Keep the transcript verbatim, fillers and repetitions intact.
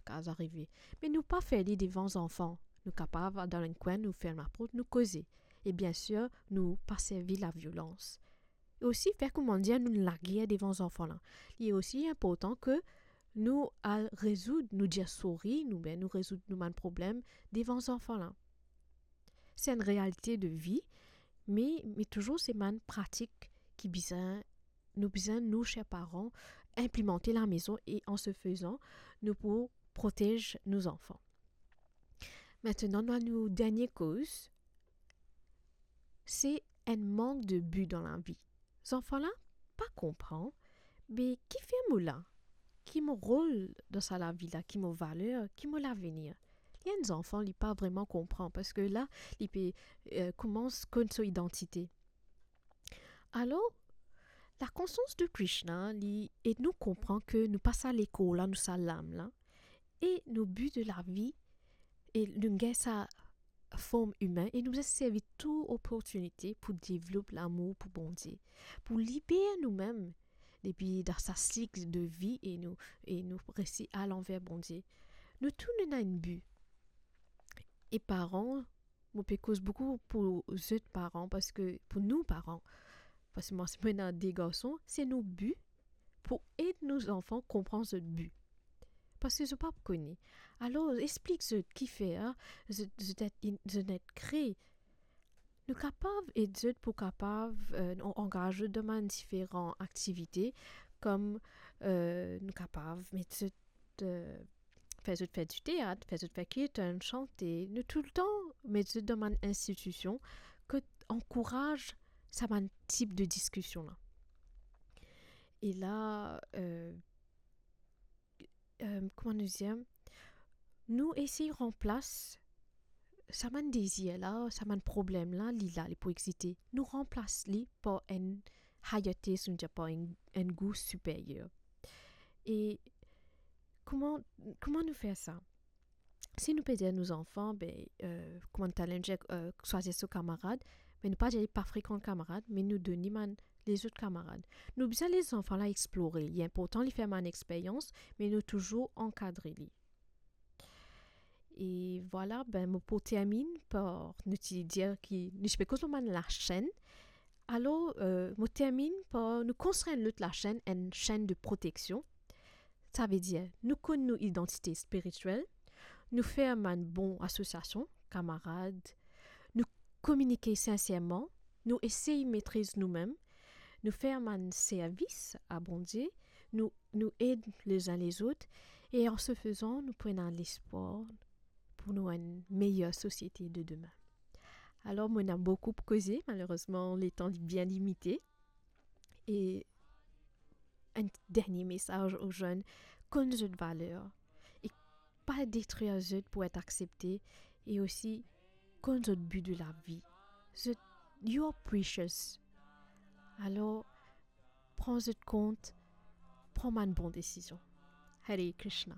kapav arive. Me nou pa fer li devan zanfan. Nou kapav al dan enn kwin, nou ferm laport, nou koze. E biensir, nou pa servi laviolans. E osi, fer koumadir nou lager devan zanfan la. Li osi inportan ke nou al rezoud, nou dir sori, nou, ben, nou rezoud nou bann problem devan zanfan la. Se enn realite de vi, me, me touzour se bann pratik ki bizin, nou bizin, nou, ser paran, inplimante lamezon e, an se fezan, nou pou protez nou zanfan. Aster, nou al nou dernie koz, se enn mank de bi dan lavi. Zanfan la pa konpran, be kifer mo la? Ki mo rol dan sa lavi la? Ki mo valer? Ki mo lavenir? Li enn zanfan, li pa vreman konpran, parski la, li pe, eh, koumans konn so idantite. Alor, lakonsians de Krishna, li ed nou konpran ke nou pa sa lekor la, nou sa lam la, e nou bi de lavi, e nou gagn sa form imin, e nou bizin servi tou oportinite pou devlop lamour pou Bondie, pou liber noumem depi dan sa sik de vi e nou, e nou resi al anver Bondie. Nou tou nou ena enn bi. E paran, mo pe koz boukou pou zot paran, parski pou nou paran, parski mwa, si mo ena de garson, se nou bi pou ed nou zanfan konpran zot bi. Parski zot pa kone. Alor, explik zot kifer zot, zot inn, zot inn kre. Nou kapav ed zot pou kapav, eh, nou angaz zot dan bann diferan aktivite, kom, eh, nou kapav met zot, eh, fer zot fer diteat, fer zot fer kirtan, sante. Nou toultan met zot dan bann institision ki ankouraz sa bann tip de diskision la. E la, eh, eh, kouma nou dir, nou esey ranplas sa bann dezir la, sa bann problem la, li la, li pou existe. Nou ranplas li par enn higher taste, nou dir par enn, enn gou siperyer. E kouma, kouma nou fer sa? Si nou pe dir nou zanfan, be, eh, kouma nou talè nou dir, eh, swazir so kamarad, me nou pa dir li pa frekant kamarad, me nou donn li bann lezot kamarad. Nou bizin les zanfan la explore. Li inportan li fer bann experyans, me nou touzour ankadre li. E vwala, be, mo pou terminn par nou ti dir ki nou ti pe koz lor bann lasenn. Alor, eh, mo terminn par nou konstrir enn lot lasenn, enn senn de proteksion. Savedir, nou konn nou idantite spiritiel, nou fer bann bon asosiasion, kamarad, nou kominike sinserman, nou esey metriz noumem, nou fer bann servis a Bondie, nou, nou ed lezin lezot, e an se fezan, nou pou ena lespwar pou nou enn meyer sosiete de demin. Alor, mo ena boukou pou koze, malerezman, letan li bien limite. E enn dernie mesaz o zenn, konn zot valer e pa detrir zot pou et aksepte, e osi konn zot bi de lavi. Zot, you are precious. Alor, pran zot kont, pran bann bon desizion. Hare Krishna.